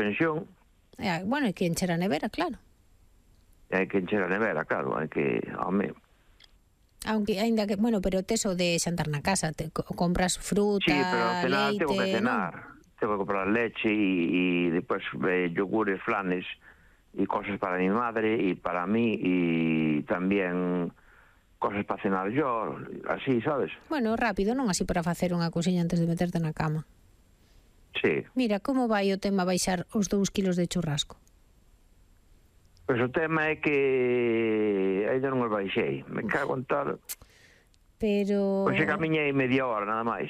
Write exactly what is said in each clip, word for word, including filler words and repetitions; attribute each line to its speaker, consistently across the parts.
Speaker 1: suspensión.
Speaker 2: Eh, bueno, hai que encher a nevera, claro.
Speaker 1: Hai que encher a nevera, claro, hai que... Home,
Speaker 2: Aunque, ainda que, bueno, pero tes o de xantar na casa, te co- compras fruta,
Speaker 1: sí, pero ao cenar
Speaker 2: leite,
Speaker 1: tengo que
Speaker 2: non?
Speaker 1: cenar. Tengo que comprar leche y, y después eh, yogures, flanes y cosas para mi madre y para mí y también cosas para cenar yo, así, ¿sabes?
Speaker 2: Bueno, rápido, non así para facer unha cousiña antes de meterte na cama.
Speaker 1: Sí.
Speaker 2: Mira, como vai o tema baixar os dous kilos de churrasco?
Speaker 1: Pois o tema é que ainda non os baixei. Me cago en tal.
Speaker 2: Pero...
Speaker 1: Pois se camiñei media hora, nada máis.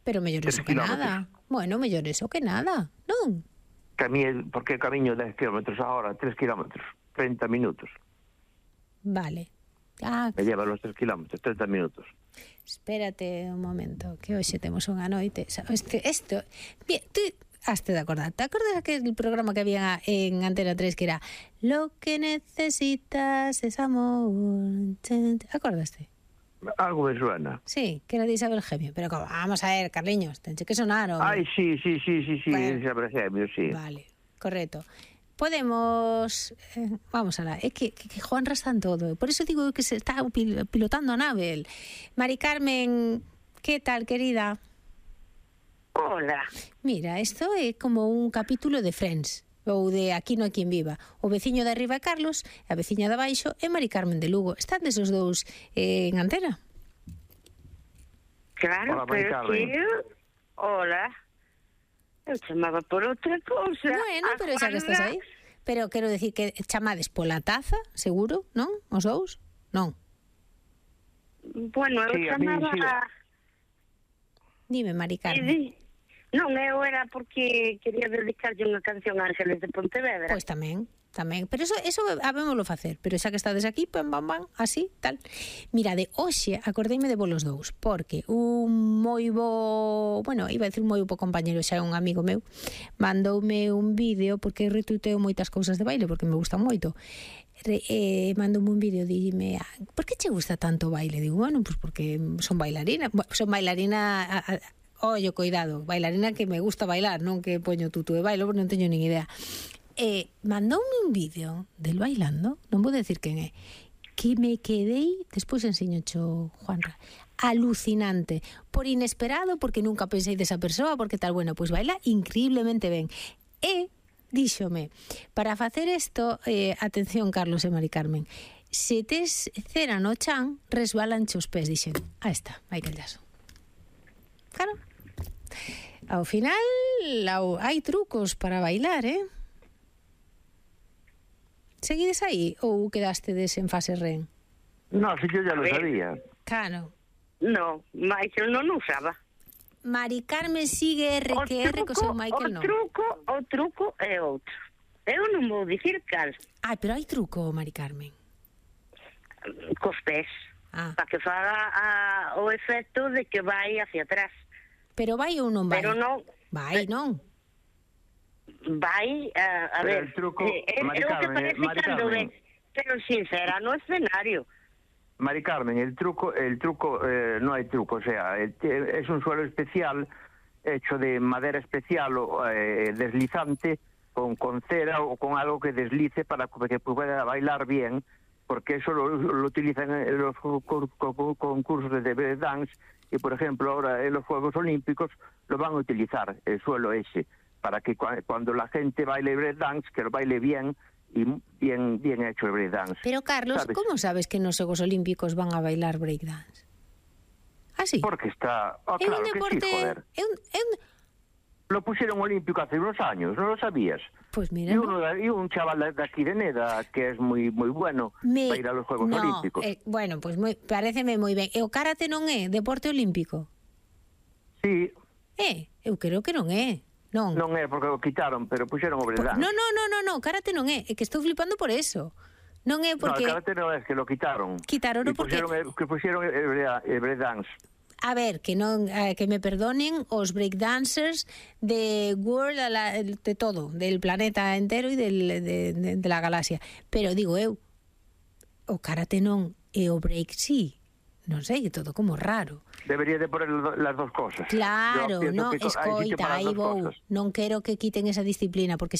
Speaker 2: Pero mellor
Speaker 1: Tres
Speaker 2: eso que
Speaker 1: kilómetros.
Speaker 2: nada. Bueno, mellor eso que nada, non?
Speaker 1: Camiñei, porque camiño dez kilómetros a hora, tres kilómetros, treinta minutos.
Speaker 2: Vale. Ah,
Speaker 1: Me lleva los tres kilómetros, treinta minutos.
Speaker 2: espérate un momento, que hoxe temos unha noite. Este, esto, bien, tú haste de acordar. ¿Te acordas aquel programa que había en Antena tres que era Lo que necesitas es amor? ¿Acordaste?
Speaker 1: Algo me suena.
Speaker 2: Sí, que era de Isabel Gemio. Pero como, vamos a ver, Carliños, tenche que sonar, hombre.
Speaker 1: Ai, sí, sí, sí, sí, sí,
Speaker 2: Bueno.
Speaker 1: Isabel Gemio, sí.
Speaker 2: Vale, correcto. Podemos... Eh, vamos a la... É que, que, que Juanra está en todo. Por eso digo que se está pil, pilotando a nave. El. Mari Carmen, ¿qué tal, querida?
Speaker 3: Hola.
Speaker 2: Mira, esto é como un capítulo de Friends ou de Aquí no hai quen viva. O veciño de arriba é Carlos, a veciña de abaixo é Mari Carmen de Lugo. Están desos dous eh, en antena?
Speaker 3: Claro,
Speaker 1: Hola, Mari
Speaker 3: pero
Speaker 1: Carmen.
Speaker 3: que eu... Hola. Eu chamaba por outra cousa.
Speaker 2: Bueno,
Speaker 3: A
Speaker 2: pero xa que estás
Speaker 3: Juana-
Speaker 2: aí. Pero quero decir que chamades pola taza, seguro, non? Os dous? Non.
Speaker 3: Bueno, eu
Speaker 1: Sí, a mí
Speaker 3: chamaba...
Speaker 1: sí.
Speaker 2: Dime, Mari
Speaker 3: E
Speaker 2: Carmen.
Speaker 3: di- Non, eu era porque quería dedicarlle unha canción a Ángeles de Pontevedra.
Speaker 2: Pois tamén, tamén. Pero eso, eso habémoslo facer. Pero xa que estades aquí, pam, pam, pam, así, tal. Mira, de hoxe acordeime de vos los dous, porque un moi bo... Bueno, iba a decir un moi bo compañero, xa é un amigo meu, mandoume un vídeo, porque retuiteo moitas cousas de baile, porque me gustan moito. Re, eh, mandoume un vídeo, dime, ah, por que che gusta tanto o baile? Digo, bueno, pues porque son bailarina, bueno, son bailarina... A, a, Ollo, cuidado, bailarina que me gusta bailar, non que poño tutu de bailo, porque non teño nin idea. Eh, mandoume un vídeo del bailando, non vou decir quen é, que me quedei, despois enseñocho Juanra, alucinante, por inesperado, porque nunca pensei desa persoa, porque tal, bueno, pois baila increíblemente ben. E díxome, para facer isto, eh, atención Carlos e Mari Carmen, se tes cera no chan, resbalanche os pés, dixen. Ah, está, hai que llaso. Claro. Ao final ao, hai trucos para bailar, eh? Seguides aí ou quedastedes en fase ren?
Speaker 1: No, sí, yo ya lo
Speaker 3: A ver.
Speaker 1: sabía.
Speaker 2: Claro.
Speaker 3: Non, Michael non usaba.
Speaker 2: Mari Carmen sigue R que R co seu Michael
Speaker 3: o
Speaker 2: non.
Speaker 3: truco, o truco é outro. Eu non vou dicir cal,
Speaker 2: Ai, pero hai truco, Mari Carmen.
Speaker 3: cos pés,
Speaker 2: Ah,
Speaker 3: para que faga a, o efecto de que vai hacia atrás.
Speaker 2: pero vai ou non vai?
Speaker 3: Pero non,
Speaker 2: Vai, non?
Speaker 3: vai, a, a
Speaker 1: Pero
Speaker 3: ver,
Speaker 1: el truco,
Speaker 3: eh,
Speaker 1: Mari
Speaker 3: é o que
Speaker 1: Carmen,
Speaker 3: parece
Speaker 1: Mari
Speaker 3: cando
Speaker 1: Carmen.
Speaker 3: ves, pero sincera, no escenario.
Speaker 1: Mari Carmen, el truco, el truco, eh, no hay truco, o sea, el- es un suelo especial hecho de madera especial o eh, deslizante con, con cera o con algo que deslice para que pueda bailar bien, porque eso lo, lo utilizan en los cu- cu- cu- concursos de break dance y, por ejemplo, ahora en los Juegos Olímpicos lo van a utilizar, el suelo ese, para que cua- cuando la gente baile break dance, que lo baile bien y bien, bien hecho el break dance.
Speaker 2: Pero Carlos,
Speaker 1: ¿Sabes?
Speaker 2: como sabes que nos Xogos Olímpicos van a bailar breakdance? Ah, sí?
Speaker 1: Porque está... Oh,
Speaker 2: É
Speaker 1: claro
Speaker 2: un
Speaker 1: que
Speaker 2: deporte...
Speaker 1: sí, joder.
Speaker 2: É un, é un...
Speaker 1: Lo pusieron olímpico hace unos años, ¿no lo sabías?
Speaker 2: Pues mira,
Speaker 1: Y,
Speaker 2: no.
Speaker 1: uno, de- y un chaval de aquí de Neda, que es muy muy bueno
Speaker 2: Me...
Speaker 1: para ir a los Juegos
Speaker 2: no,
Speaker 1: Olímpicos.
Speaker 2: eh, bueno, pues moi, paréceme moi ben. E o karate non é deporte olímpico?
Speaker 1: Sí,
Speaker 2: É, eu creo que non é. Non.
Speaker 1: non é porque lo quitaron, pero pusieron o
Speaker 2: Por,
Speaker 1: breakdance.
Speaker 2: no, no, no, no, no, karate non é. É que estou flipando por eso. Non é
Speaker 1: No,
Speaker 2: porque...
Speaker 1: el karate no es que lo quitaron.
Speaker 2: Quitaron,
Speaker 1: y
Speaker 2: porque-
Speaker 1: pusieron el, que pusieron el, break- el breakdance.
Speaker 2: A ver, que non eh, que me perdonen os breakdancers de world a la, de todo, del planeta entero e del, de, de, de la galaxia. Pero digo eu, o karate non e o break sí. Non sei, é todo como raro.
Speaker 1: Debería de poner lo- las dos cosas.
Speaker 2: Claro,
Speaker 1: Yo pienso
Speaker 2: no,
Speaker 1: que co- hay sitio
Speaker 2: escoita,
Speaker 1: para las
Speaker 2: aí
Speaker 1: dos
Speaker 2: vou.
Speaker 1: cosas.
Speaker 2: Non quero que quiten esa disciplina, porque